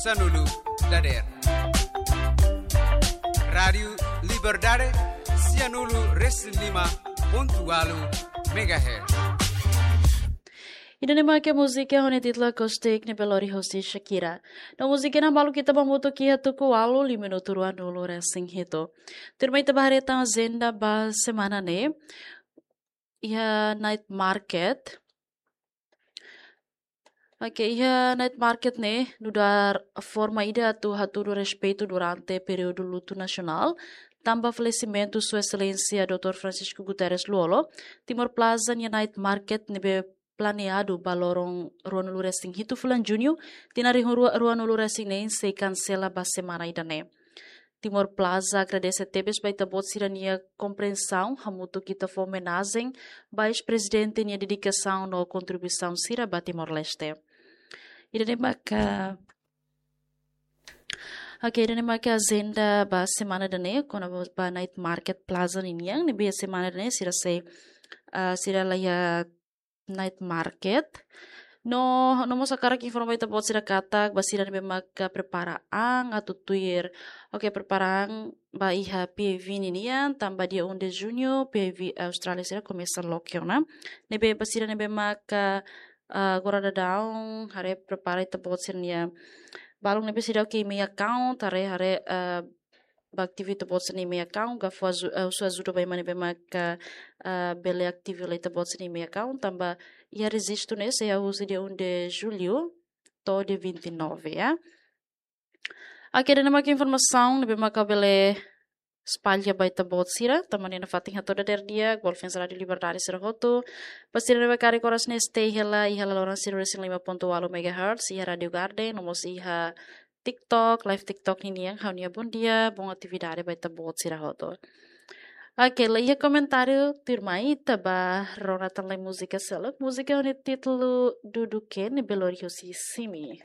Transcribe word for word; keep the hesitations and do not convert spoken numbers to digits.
sanulu dadeer. Rádiu Liberdade, sianulu resin lima pontu ualu megahertz. Ida-ne'e mak múzika ho nia títulu Acoustic ne'ebé lori hosi Shakira. No múzika ne'e balu ita ba hamutuk iha tuku ualu, liu minutu ruanulu resin hitu. Tuirmai ita ba haree tan ajenda ba semana ne'e. Iha night market. Oke, iha night market ne'e nu'udar forma ida atu hatudu respeitu durante períodu lutu nasionál tanba falesimentu Sua Exelénsia doutór Francisco Guterres Lú-Olo, Timor Plaza nia night market ne'ebé planeadu ba loron ruanulu resin hitu fulan Juñu, tinan rihun rua ruanulu resin neen sei kansela ba semana ida-ne'e. Timor Plaza agradese tebes ba ita-boot sira-nia komprensaun, hamutuk ita fó omenajen ba eis-prezidente nia dedikasaun no kontribuisaun sira ba Timor-Leste. Ida-ne'e maka, oke, ida-ne'e maka ajenda ba semana ida-ne'e, kona-ba night market plaza ninian, ne'ebé semana ida-ne'e sira sei, ah, sira la iha night market. No, no mós hakarak informa ba ita-boot sira katak, ba sira ne'ebé maka prepara an atu tuir. Oke, prepara an ba iha P I V ninian, tanba dia um de junho, P I V Austrália sira komesa loke ona. Ne'ebé ba sira ne'ebé maka, ah, agora daudaun, haree prepara ita-boot sira-nia. Balun ne'ebé seidauk iha email account, haree, haree, ah, ba ativu ita-boot sira-nia email account, ka fó aju-, eh, husu ajuda ba ema ne'ebé maka, eh, bele ativu hela ita-boot sira-nia email account, tanba iha rejistu ne'e sei hahú husi dia um de julho to'o dia vinte e nove, ya. Oke, ida-ne'e maka informasaun ne'ebé maka bele espalla ba ita-boot sira, tanba ne'e nafatin hato'o dadeer di'ak ba ouvinte Rádiu Liberdade sira hotu. Ba sira ne'ebé karik oras ne'e stay hela iha laloran sanulu resin lima pontu ualu megahertz, iha Rádiu Garden, no mós iha TikTok, live TikTok ninian, ha'u-nia bondia, bon atividade ba ita-boot sira hotu. Oke, la iha komentáriu, tuirmai ita ba rona tan lai múzika seluk, múzika ho nia títulu Dudu Ken ne'ebé lori hosi Simi.